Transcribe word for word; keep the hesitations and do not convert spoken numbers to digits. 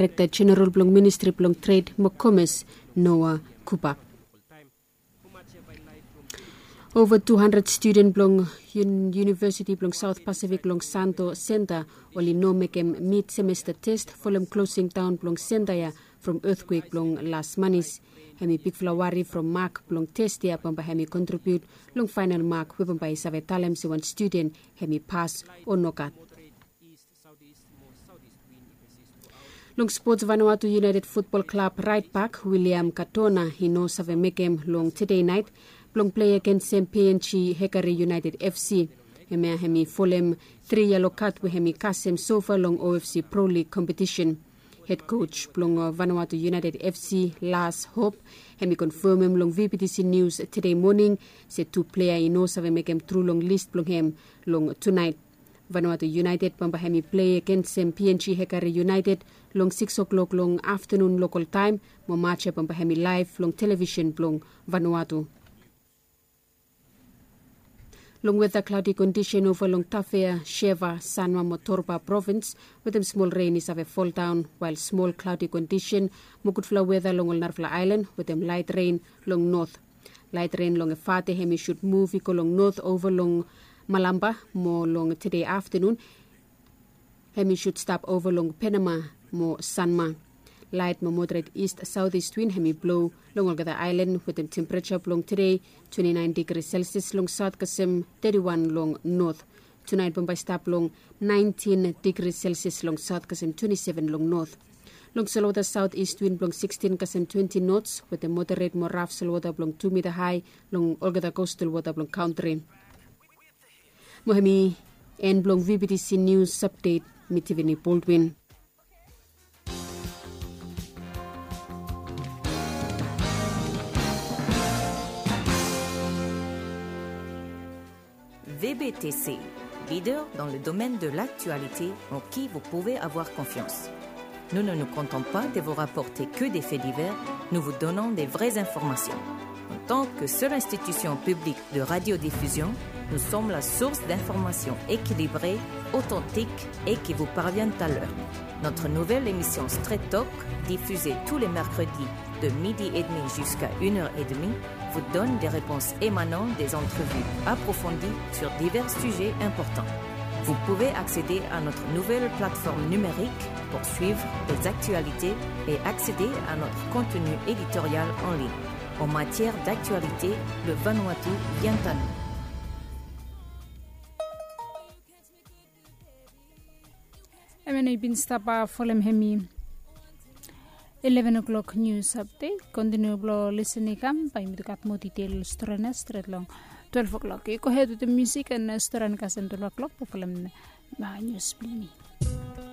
Direkta Jeneral blong Ministri blong Tred mo Komes, Noah Kubak. Ova tu handred studen blong Yunivesiti blong Saot Pasifik long Santo Senta oli no mekem mid semesta test folem klosing daon blong senta ya from etkwek blong las manis. Hemi bigfala wari from mak blong test ya bambae hemi kontribiut long faenal mak we bambae i save talem se wan studen hemi pas o nogat. Long spots, Vanuatu United Futbol Klab raet bak William Katona i no save mekem long tede naet blong plei agensem P N G Hekari United F C. Hemia hemi folem tri yelo kad we hemi kasem sofa long O F C Pro League kompetisen. Hed koj blong Vanuatu United F C, Lars Hope, hemi konfemem long V B T C Nius tede moning se tu plea i no save mekem tru long lis blong hem long tunaet. Vanuatu United bambae hemi plei agensem P N G Hekari United long sikis klok long aftanun lokal taem, mo maj ya bambae hemi laef long televisen blong Vanuatu. Long weta, klaodi kondisen ova long Tafea, Sheva, Sanma mo Torba provins, wetem smol ren i save foldaon, wael smol klaodi kondisen mo gudfala weta long ol narafala aelan wetem laet ren long not. Laet ren long Efate hemi sud muv i go long not ova long Malamba, mo long tede aftanun hemi sud stap ova long Penama mo Sanma. Laet mo moderet ist saotis win hemi blo long olgeta aelan wetem tempereja blong tede twenti naen digri Celsius long saot kasem teti wan long not. Tunaet bambae stap long naentin digri Celsius long saot kasem twenti seven long not. Long solwota, saotis win blong sikstin kasem twenti nots wetem moderet mo raf solwota blong tu mita hae long olgeta kostal wota blong kantri. Mo hemi en blong V B T C Nius Apdet. Mi Tiffany Baldwin. V B T C, leader dans le domaine de l'actualité en qui vous pouvez avoir confiance. Nous ne nous contentons pas de vous rapporter que des faits divers, nous vous donnons des vraies informations. En tant que seule institution publique de radiodiffusion, nous sommes la source d'informations équilibrées, authentiques et qui vous parviennent à l'heure. Notre nouvelle émission Straight Talk, diffusée tous les mercredis de midi et demi jusqu'à une heure et demie, vous donne des réponses émanant des entrevues approfondies sur divers sujets importants. Vous pouvez accéder à notre nouvelle plateforme numérique pour suivre les actualités et accéder à notre contenu éditorial en ligne. En matière d'actualité, le Vanuatu vient à nous. Hemia nao i bin stap folem hemi eleven o'clock news update. Kontiniu blong lisin i kam, bae yumi gat moa detail stori nao stret long twelve o'clock. Yu gohed wetem musik and stori nao kasem twelve o'clock blong folem news blong yumi.